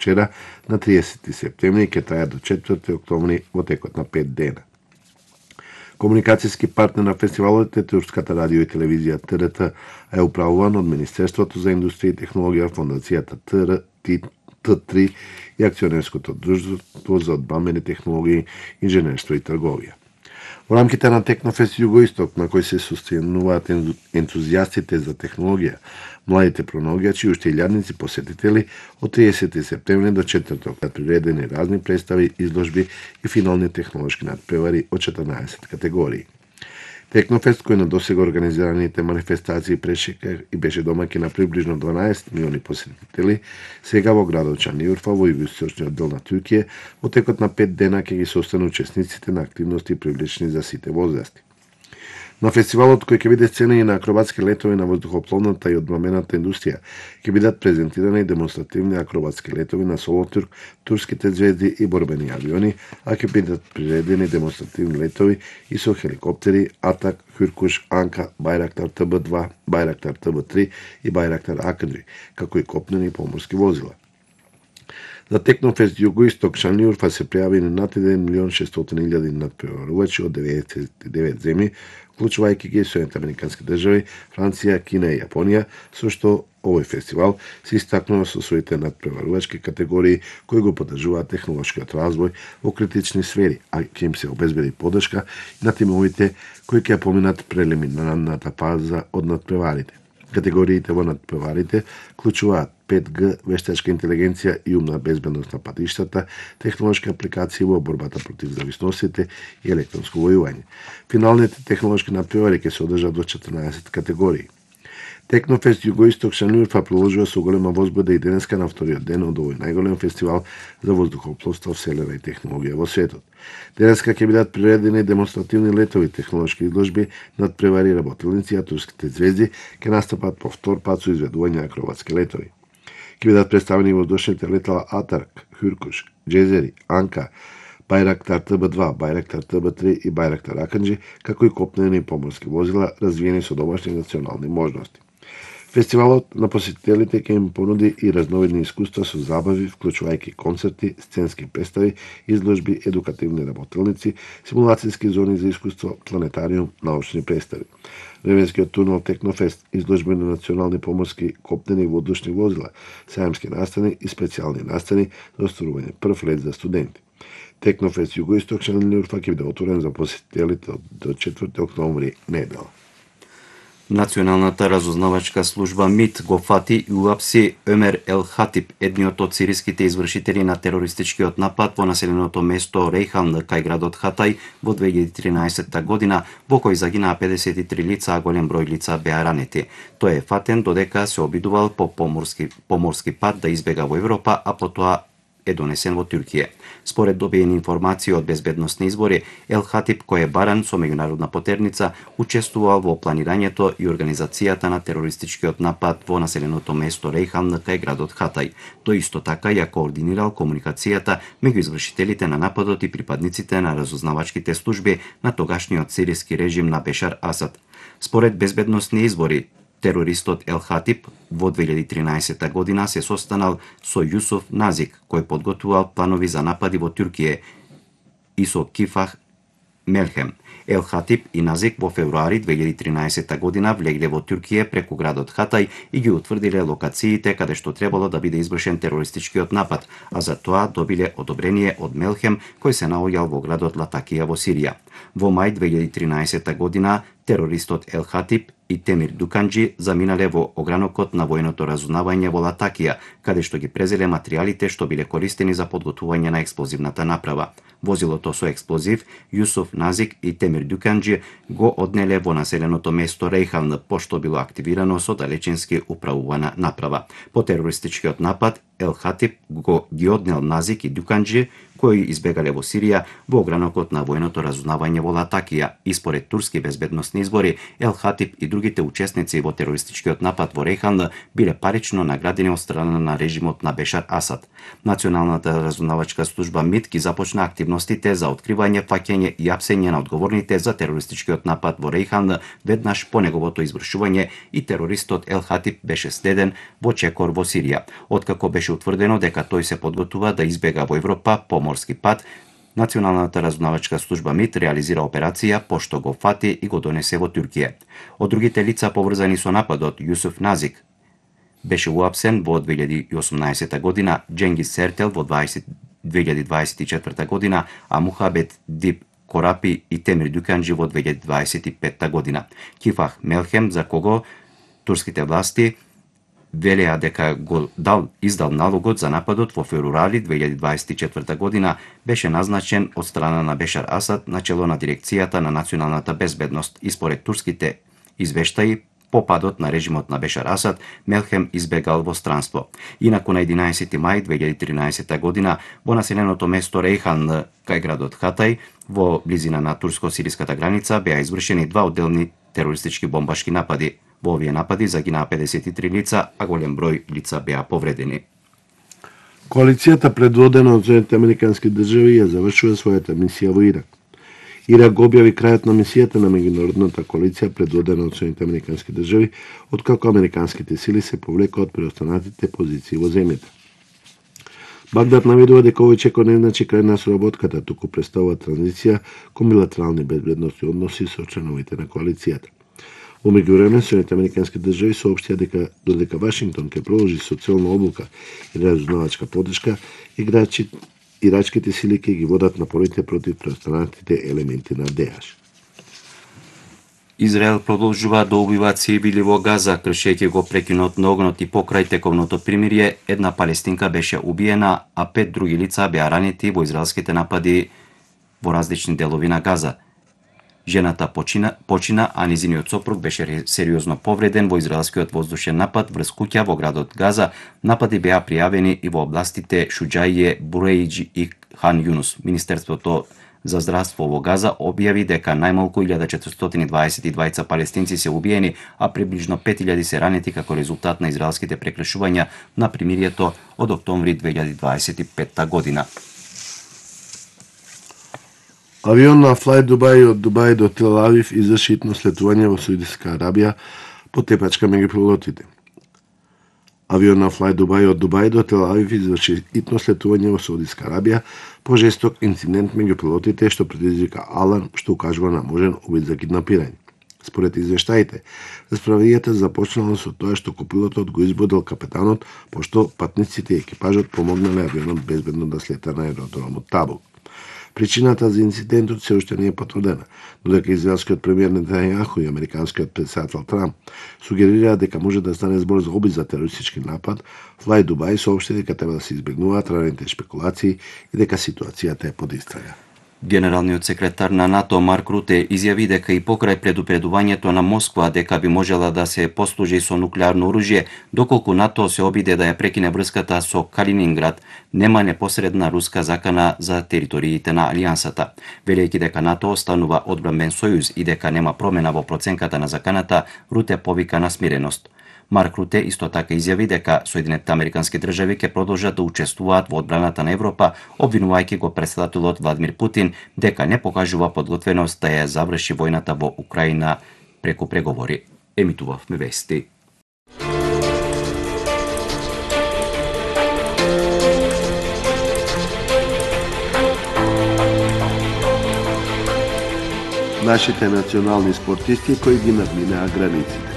вчера на 30 септември и ќе трае до 4 октомври во текот на 5 дена. Комуникацијски партнер на фестивалот е турската радио и телевизија ТРТ, е управуван од Министерството за индустрија и технологија, фондацијата Т3 и акционерското друштво за одбранбени технологии, инженерство и трговија. Во рамките на Технофест Југоисток, на кој се состануваат ентузијастите за технологија, младите пронаоѓачи и уште илјадници посетители, од 30 септември до 4 приредени разни представи, изложби и финални технолошки надпревари од 14 категории. Технофест, кој на досега организираните манифестации прешека и беше домаќин на приближно 12 милиони посетители, сега во градот Шанлиурфа во југоисточниот дел на Туркија, во текот на 5 дена ќе ги состана учесниците на активности привлечени за сите возрасти. На фестивалот, кој ќе биде сцена и на акробатски летови на воздухопловната и одбранбената индустрија, ќе бидат презентирани демонстративни акробатски летови на Солотурк, турските звезди и борбени авиони, а ќе бидат приредени демонстративни летови и со хеликоптери Атак, Хюркуш, Анка, Байрактар ТБ2, Байрактар ТБ3 и Байрактар Акаджи, како и копнени и поморски возила. За Технофест Југоисток Шанлиурфа се пријавени над 1.600.000 надпреварувачи од 99 земји, вклучувајќи ги Соединените американски држави, Франција, Кина и Јапонија, со што овој фестивал се истакнува со своите надпреварувачки категории кои го поддржуваат технолошкиот развој во критични сфери, а ќе им се обезбеди поддршка на тимовите кои ќе поминат прелиминарната фаза од надпреварите. Категориите во надпреварите вклучуваат 5G, вештачка интелигенција и умна безбедност на патиштата, технолошки апликации во борбата против зависностите и електронско војување. Финалните технолошки надпревари ќе се одржат во 14 категории. Технофест Југоисток Шанлиурфа продолжува со голема возбуда и денеска на вториот ден од овој најголем фестивал за воздухопловство, вселена и технологија во светот. Денеска ќе бидат приредени демонстративни летови, технолошки изложби, надпревари, работилници, а турските звезди ќе настапат по втор пат со изведување акробатски летови. Ќе бидат представени воздушните летала Атарк, Хюркуш, Джезери, Анка, Байрактар ТБ2, Байрактар ТБ3 и Байрактар Акаджи, како и копнени и поморски возила развиени со домашни национални можности. Фестивалот на посетителите ќе им понуди и разновидни искуства со забави, вклучувајќи концерти, сценски представи, изложби, едукативни работилници, симулацијски зони за искуство, планетариум, научни представи. Временскиот тунел Технофест, изложби на национални поморски, копнени и воздушни возила, сајамски настани и специјални настани за остарување прв лет за студенти. Технофест Југоисток Шанлиурфа ќе биде отворен за посетителите до 4 октомври недела. Националната разузнавачка служба МИТ го фати и уапси Өмер Ел Хатип, едниот од сириските извршители на терористичкиот напад во населеното место Рейхан кај градот Хатај во 2013 година, во кој загинаа 53 лица, а голем број лица беа ранети. Тој е фатен додека се обидувал по поморски пат да избега во Европа, а потоа е донесен во Туркија. Според добиени информации од безбедносни извори, Ел Хатип, кој е баран со меѓународна потерница, учествувал во планирањето и организацијата на терористичкиот напад во населеното место Рейхан кај градот Хатај. Тој исто така ја координирал комуникацијата меѓу извршителите на нападот и припадниците на разузнавачките служби на тогашниот сириски режим на Бешар Асад. Според безбедносни извори, терористот Ел Хатип во 2013 година се состанал со Јусуф Назик, кој подготвувал планови за напади во Туркија, и со Кифах Мелхем. Ел Хатип и Назик во февруари 2013 година влегле во Туркија преку градот Хатај и ги утврдиле локациите каде што требало да биде извршен терористичкиот напад, а за тоа добиле одобрение од Мелхем, кој се наоѓал во градот Латакија во Сирија. Во мај 2013 година терористот Ел Хатип и Темир Дуканџи заминале во огранокот на војното разузнавање во Латакија, каде што ги презеле материјалите што биле користени за подготвување на експлозивната направа. Возилото со експлозив Јусуф Назик и Темир Дуканџи го однеле во населеното место Рейхан, пошто било активирано со далечински управувана направа. По терористичкиот напад Ел Хатип ги однел Назик и Дуканџи, кои избегале во Сирија во огранокот на војното разузнавање во Латакија, и според турски безбедносни избори, Ел Хатип и другите учесници во терористичкиот напад во Рейхан биле парично наградени од страна на режимот на Бешар Асад. Националната разузнавачка служба МИТ ги започна активно активностите за откривање, фаќање и апсење на одговорните за терористичкиот напад во Рейхан веднаш по неговото извршување и терористот Ел Хатип беше следен во чекор во Сирија. Откако беше утврдено дека тој се подготува да избега во Европа по морски пат, Националната разузнавачка служба МИТ реализира операција пошто го фати и го донесе во Туркија. Од другите лица поврзани со нападот, Јусуф Назик беше уапсен во 2018 година, Дженгис Сертел во 2024 година, а Мухабет Дип Корапи и Темир Дюканджи во 2025 година. Кифах Мелхем, за кого турските власти велеа дека го издал налогот за нападот во февруари 2024 година, беше назначен од страна на Бешар Асад на чело на дирекцијата на националната безбедност и според турските извештаи по падот на режимот на Бешар Асад, Мелхем избегал во странство. Инаку на 11 мај 2013 година во населеното место Рейхан кај градот Хатај во близина на турско-сириската граница беа извршени два одделни терористички бомбашки напади. Во овие напади загинаа 53 лица, а голем број лица беа повредени. Коалицијата предводена од Соединетите Американски држави ја завршува својата мисија во Ирак. Ирак го објави крајот на мисијата на меѓународната коалиција предводена од Соединетите Американски држави, откако американските сили се повлекоа од преостанатите позиции во земјата. Багдад наведува дека овој чекор не значи крај на соработката, туку представува транзиција кон билатерални безбедносни односи со членовите на коалицијата. Во меѓувреме, Соединетите Американски држави соопштија дека додека Вашингтон ќе продолжи социјална облука и разузнавачка поддршка, ирачките сили ќе ги водат напорите против преостанатите елементи на ДАЕШ. Израел продолжува да убива цивили во Газа, кршејќи го прекинот на огнот и покрај тековното примирие, една палестинка беше убиена, а 5 други лица беа ранети во израелските напади во различни делови на Газа. Жената почина, а низиниот сопруг беше сериозно повреден во израелскиот воздушен напад врз куќа во градот Газа. Напади беа пријавени и во областите Шуџаје, Бурејдж и Хан Јунус. Министерството за здравство во Газа објави дека најмалку 1422 палестинци се убиени, а приближно 5000 се ранети како резултат на израелските прекршувања на примирието од октомври 2025 година. Авион на Fly Dubai од Дубај до Тел Авив изврши итно слетување во Саудитска Арабија по тепачка меѓу пилотите. Авион на Fly Dubai од Дубај до Тел Авив изврши итно слетување во Саудитска Арабија по жесток инцидент меѓу пилотите што предизвика аларм што укажува на можен обид за киднапирање. Според извештаите, расправијата започнала со тоа што копилотот го избодел капетанот, пошто патниците и екипажот помогнале авионот безбедно да слета на аеродромот Табук. Причината за инцидентот се уште не е потврдена, додека израелскиот премиер Нетањаху и американскиот претседател Трамп сугерираа дека може да стане збор за обид за терористички напад, Fly Dubai соопшти дека треба да се избегнуваат раните шпекулации и дека ситуацијата е под истрага. Генералниот секретар на НАТО Марк Руте изјави дека и покрај предупредувањето на Москва дека би можела да се послужи со нуклеарно оружје, доколку НАТО се обиде да ја прекине врската со Калининград, нема непосредна руска закана за териториите на алијансата. Велејќи дека НАТО останува одбранбен сојуз и дека нема промена во проценката на заканата, Руте повика на смиреност. Марк Руте исто така изјави дека Соединетите Американски држави ќе продолжат да учествуваат во одбраната на Европа, обвинувајќи го претседателот Владимир Путин дека не покажува подготвеност да ја заврши војната во Украина преку преговори. Емитувавме вести. Нашите национални спортисти кои ги надминаа границите.